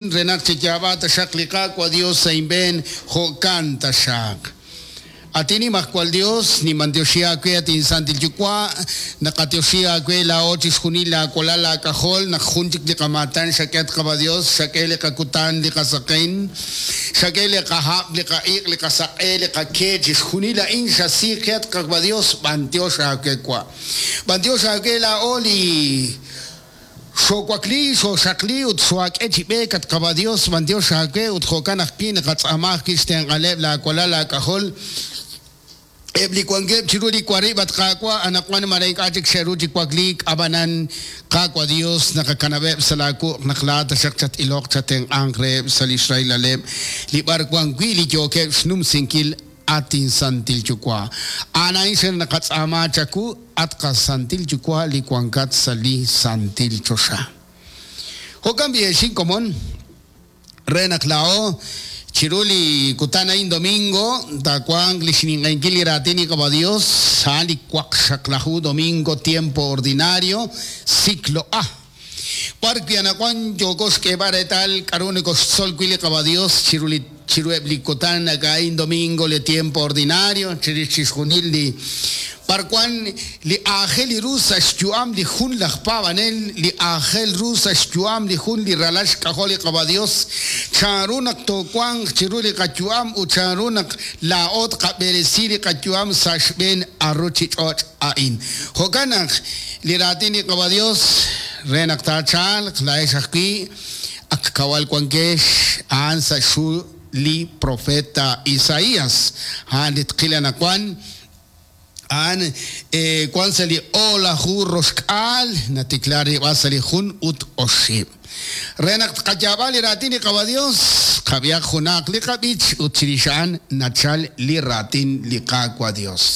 Re naq chiyaab'a taxaq li Qaawa' Dios sa' inb'een, jo'kan taxaq. At Inimajwal Dios, ninb'antioxi aawe, at inSantil Yuwa', naqatioxi aawe laa'o chixjunil laawalal aak'ajol naq jun chik li qamaatan xak'e at Qaawa' Dios, xak'e li qakutan, li qasaqen, xak'e li qahab', li qa'iq', li qasaq'e, li qake, chixjunil a'in xasi qe at Qaawa' Dios, b'antiox aawe wa'. B'antiox aawe laa'o li Xoowakli, xooxaqli ut xoohaak'e chi b'eek, at Qaawa' Dios, b'antiox aawe ut jo'kan ajwi' naqatz'aama ajwi' xtenq'aleb' laawalal aak'ajol, eb' li wankeb' chiru li warib', at Qaawa', anaqwan mare ink'a' chik xe'ru chi wakliik, ab'anan, Qaawa' Dios, naqakanab'eb' sa' laawuq' naq laa'at taxaq chat-iloq chatenq'anq reheb' sa' li xrahilaleb' li b'ar wan wi' li yookeb' xnumsinkil, at inSantil Yuwa'. A'an a'in xen naqatz'aama chawu, at qaSantil Yuwa' li wankat sa' li santil choxa. Jo'kan b'i' ex inkomon, re naq laa'o chiru li kutan a'in domingo taawanq li xninq'ehinkil li raatin li Qaawa' Dios, a'an li waqxaqlaju domingo tiempo ordinario, ciclo A. B'ar wi' anaqwan yooko xk'eeb'al reetal k'aru nokoxtzol wi' li Qaawa' Dios chiru li chiruheb' li kutan a'in domingo li tiempo ordinario chirix chixjunil li b'arwan li aajel ru sa' xyu'am li jun laj paab'anel, li aajel ru sa' xyu'am li jun li ralal xk'ajol li Qaawa' Dios, chanru naq toowanq chiru li qayu'am ut chanru naq laa'o tqab'eresi li qayu'am sa' xb'een a ruchich'och' a'in. Jo'kan naq li raatin li Qaawa' Dios re naq taachalq laa'ex ajwi' ak kawal wankex a'an sa' xhu li profeta Isaías, a'an li tqil anaqwan, a'an wan sa' li o'laju roxk'aal natikla rilb'al sa' li jun ut oxib'. Re naq tqayaab'a li raatin li Qaawa' Dios, qab'ihaq junaq li qab'ich ut chirix a'an nachal li raatin li Qaawa' Dios.